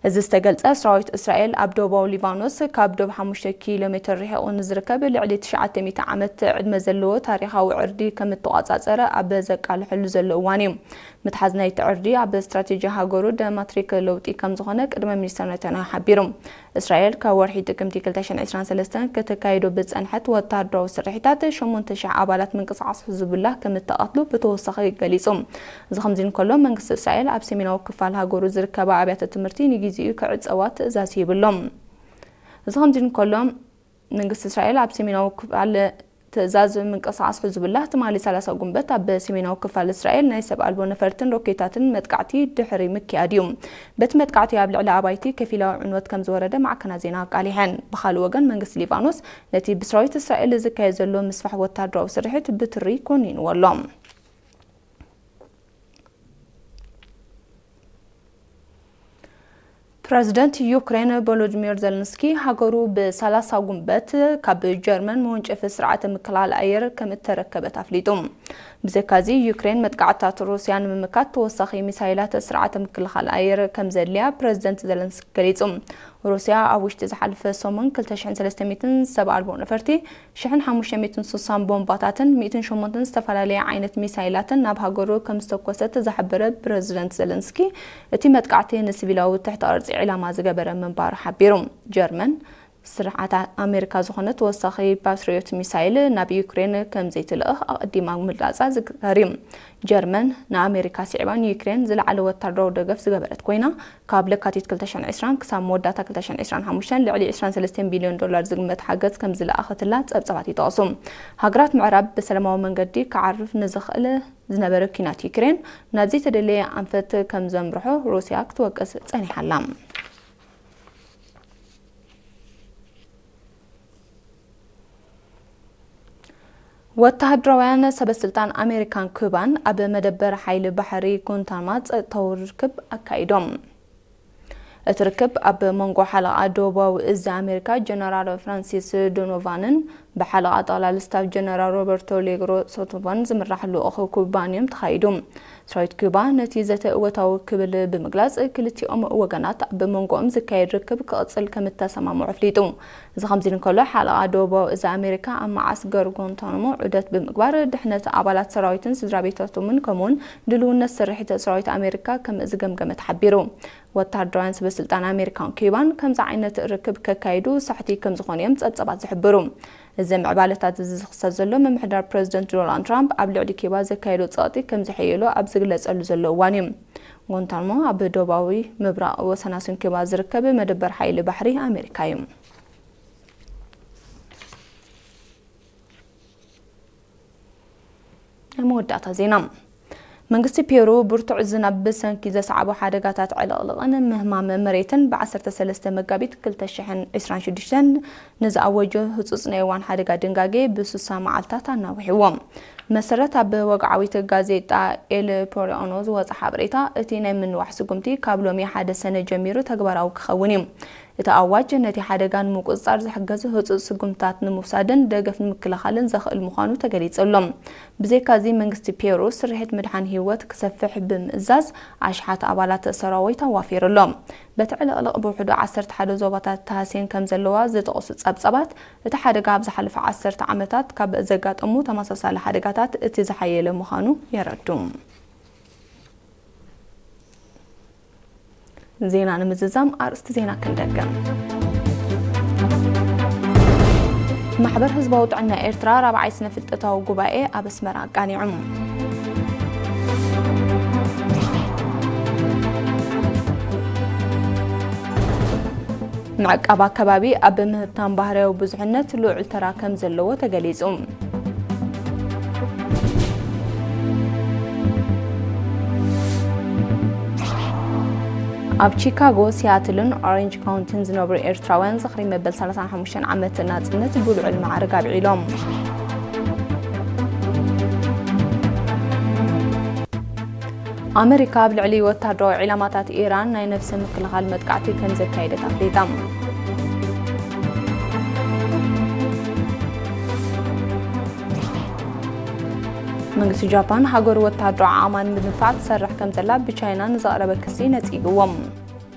እዚ ዝተገልጸ፣ ሰራዊት እስራኤል ኣብ ደቡባዊ ሊባኖስ ካብ ዶብ ሓሙሽተ ኪሎ ሜትር ርሒቑ ንዝርከብ ልዕሊ ትሽዓተ ሚእቲ ዓመት ዕድመ ዘለዎ ታሪኻዊ ዕርዲ ከም እተቋጻጸረ ኣብ ዘቃልሐሉ ዘሎ እዋን እዩ። ምትሓዝ ናይቲ ዕርዲ ኣብ ስትራቴጂ ሃገሩ ደማትሪክ ለውጢ ከም ዝኾነ ቅድመ ሚኒስተር ነታንያሁ ሓቢሩ። እስራኤል ካብ ወርሒ ጥቅምቲ ክልተ ሽሕን ዕስራን ሰለስተን ከተካይዶ ብዝጸንሐት ወታደራዊ ስርሒታት ሸሞንተ ሽሕ ኣባላት ምንቅስቓስ ሕዝቡላህ ከም እተቐትሉ ብተወሳኺ ገሊጹ። እዚ ከምዚ እንከሎ፣ መንግስቲ እስራኤል ኣብ ሰሜናዊ ክፋል ሃገሩ ዝርከባ ኣብያተ ትምህርቲ ንግዜኡ ክዕጸዋ ትእዛዝ ሂቡ ኣሎ። እዚ ከምዚ እንከሎ፣ መንግስቲ እስራኤል ኣብ ሰሜናዊ ክፋል ትእዛዝ ምንቅስቓስ ሕዝቡላህ ትማሊ ሰላሳ ጉንበት ኣብ ሰሜናዊ ክፋል እስራኤል ናይ ሰብ ኣልቦ ነፈርትን ሮኬታትን መጥቃዕቲ ድሕሪ ምክያድ እዩ። በቲ መጥቃዕቲ ኣብ ልዕሊ ኣባይቲ ከፊላዊ ዕንወት ከም ዝወረደ ማዕከናት ዜና ኣቃሊሐን። ብኻልእ ወገን፣ መንግስቲ ሊባኖስ ነቲ ብሰራዊት እስራኤል ዝካየድ ዘሎ ምስፋሕ ወታደራዊ ስርሒት ብትሪ ኮኒንዎ ኣሎ። ፕረዚደንት ዩክሬን ቮሎዲሚር ዘለንስኪ ሃገሩ ብሰላሳ ጉንበት ካብ ጀርመን መወንጨፊ ስርዓተ ምክልኻል ኣየር ከም እተረከበት ኣፍሊጡ። ብዘካዚ፣ ዩክሬን መጥቃዕትታት ሩስያ ንምምካት ተወሳኺ ሚሳይላት ስርዓተ ምክልኻል ኣየር ከም ዘድልያ ፕረዚደንት ዘለንስኪ ገሊጹ። ሩስያ ኣብ ውሽጢ ዝሓለፈ ሰሙን ክልተ ሽሕን ሰለስተ ሚእትን ሰብ ኣልቦ ነፈርቲ፣ ሽሕን ሓሙሽተ ሚእትን ስሳን ቦምባታትን ሚእትን ሸሞንተን ዝተፈላለየ ዓይነት ሚሳይላትን ናብ ሃገሩ ከም ዝተኮሰት ዝሓበረ ፕረዚደንት ዘለንስኪ፣ እቲ መጥቃዕቲ ንሲቪላዊ ትሕተ ቅርጺ ዒላማ ዝገበረ ምንባሩ ሓቢሩ። ጀርመን ስርዓት ኣሜሪካ ዝኾነ ተወሳኺ ፓትሪዮት ሚሳይል ናብ ዩክሬን ከም ዘይትልእኽ ኣቐዲማ ምግላጻ ዝዝከር እዩ። ጀርመን ንኣሜሪካ ስዒባ ንዩክሬን ዝለዓለ ወታደራዊ ደገፍ ዝገበረት ኮይና፣ ካብ ለካቲት ክልተ ሽሕን ዕስራን ክሳብ መወዳእታ ክልተ ሽሕን ዕስራን ሓሙሽተን ልዕሊ ዕስራን ሰለስተን ቢልዮን ዶላር ዝግመት ሓገዝ ከም ዝለኣኸትላ ጸብጻባት ይጠቕሱ። ሃገራት ምዕራብ ብሰላማዊ መንገዲ ክዓርፍ ንዝኽእል ዝነበረ ኲናት ዩክሬን ናብ ዘይተደለየ ኣንፈት ከም ዘምርሖ ሩስያ ክትወቅስ ጸኒሓ ኣላ። ወተሃደራውያን ሰበስልጣን ኣሜሪካን ኩባን ኣብ መደበር ሓይሊ ባሕሪ ጉንታናሞ ጸጥታዊ ርክብ ኣካይዶም። እቲ ርክብ ኣብ መንጎ ሓለቓ ደቡባዊ እዚ ኣሜሪካ ጀነራል ፍራንሲስ ዶኖቫንን ብሓለቓ ጠቕላሊ ስታፍ ጀነራል ሮበርቶ ሌግሮ ሶቶቫን ዝምራሕ ልኡኽ ኩባን እዮም ተኻይዱ። ሰራዊት ኩባ ነቲ ዘተ እወታዊ ክብል ብምግላጽ፣ ክልቲኦም ወገናት ኣብ መንጎኦም ዝካየድ ርክብ ክቕጽል ከም እተሰማምዑ ኣፍሊጡ። እዚ ከምዚ እንከሎ፣ ሓለቓ ደቡባዊ እዚ ኣሜሪካ ኣብ መዓስከር ጓንታናሞ ዑደት ብምግባር ድሕነት ኣባላት ሰራዊትን ስድራ ቤታቶምን ከምኡውን ድልውነት ስርሒት ሰራዊት ኣሜሪካ ከም ዝገምገመ ተሓቢሩ። ወተሃደራውያን ሰበስልጣን ኣሜሪካን ኩባን ከምዚ ዓይነት ርክብ ከካይዱ ሳሕቲ ከም ዝኾኑ እዮም ጸብጻባት ዝሕብሩ። እዚ ምዕባለታት እዚ ዝኽሰት ዘሎ፣ ምምሕዳር ፕረዚደንት ዶናልድ ትራምፕ ኣብ ልዕሊ ኩባ ዘካየዶ ጸቕጢ ከም ዝሕየሎ ኣብ ዝግለጸሉ ዘሎ እዋን እዩ። ጓንታናሞ ኣብ ደቡባዊ ምብራቕ ወሰናስን ኩባ ዝርከብ መደበር ሓይሊ ባሕሪ ኣሜሪካ እዩ። ናይ መወዳእታ ዜና። መንግስቲ ፔሩ ብርቱዕ ዝናብ ብሰንኪ ዘስዓቦ ሓደጋታት ዕልቕልቕን ምህማም መሬትን ብ ዓሰርተ ሰለስተ መጋቢት ክልተ ሽሕን ዕስራን ሽዱሽተን ንዝኣወጆ ህጹጽ ናይ እዋን ሓደጋ ድንጋጌ ብስሳ መዓልታት ኣናዊሕዎ። መሰረት ኣብ ወግዓዊት ጋዜጣ ኤል ፖሪኦኖ ዝወጸ ሓበሬታ፣ እቲ ናይ ምንዋሕ ስጉምቲ ካብ ሎሚ ሓደ ሰነ ጀሚሩ ተግባራዊ ክኸውን እዩ። እቲ ኣዋጅ ነቲ ሓደጋ ንምቁጽጻር ዝሕገዝ ህጹጽ ስጉምትታት ንምውሳድን ደገፍ ንምክልኻልን ዘኽእል ምዃኑ ተገሊጹ ኣሎ። ብዘይካዚ፣ መንግስቲ ፔሩ ስርሒት ምድሓን ህይወት ክሰፍሕ ብምእዛዝ፣ ኣሽሓት ኣባላት ሰራዊት ኣዋፊሩ ኣሎ። በቲ ዕልቕልቕ ብውሕዱ ዓሰርተ ሓደ ዞባታት ተሃስየን ከም ዘለዋ ዝጠቕሱ ጸብጻባት፣ እቲ ሓደጋ ኣብ ዝሓለፈ ዓሰርተ ዓመታት ካብ ዘጋጠሙ ተመሳሳሊ ሓደጋታት እቲ ዝሓየለ ምዃኑ የረዱ። ዜና ንምዝዛም ኣርእስቲ ዜና ክንደግም። ማሕበር ህዝባዊ ጥዕና ኤርትራ ራብዓይ ስነ ፍልጠታዊ ጉባኤ ኣብ ኣስመራ ኣቃኒዑ። ምዕቃብ ኣከባቢ ኣብ ምህብታም ባህርያዊ ብዙሕነት ልዑል ተራ ከም ዘለዎ ተገሊጹ። ኣብ ቺካጎ፣ ሲያትልን ኦሬንጅ ካውንቲን ዝነብሩ ኤርትራውያን ዝኽሪ መበል ሰላሳን ሓሙሽተን ዓመት ናጽነት ብልዑል ማዕርግ ኣብዒሎም። ኣመሪካ ኣብ ልዕሊ ወታደራዊ ዒላማታት ኢራን ናይ ነፍሲ ምክልኻል መጥቃዕቲ ከም ዘካየደት ኣፍሊጣ። መንግስቲ ጃፓን፣ ሃገሩ ወታደራዊ ዓቕማ ንምድንፋዕ ትሰርሕ ከም ዘላ ብቻይና ንዘቕረበ ክሲ ነጺግዎ።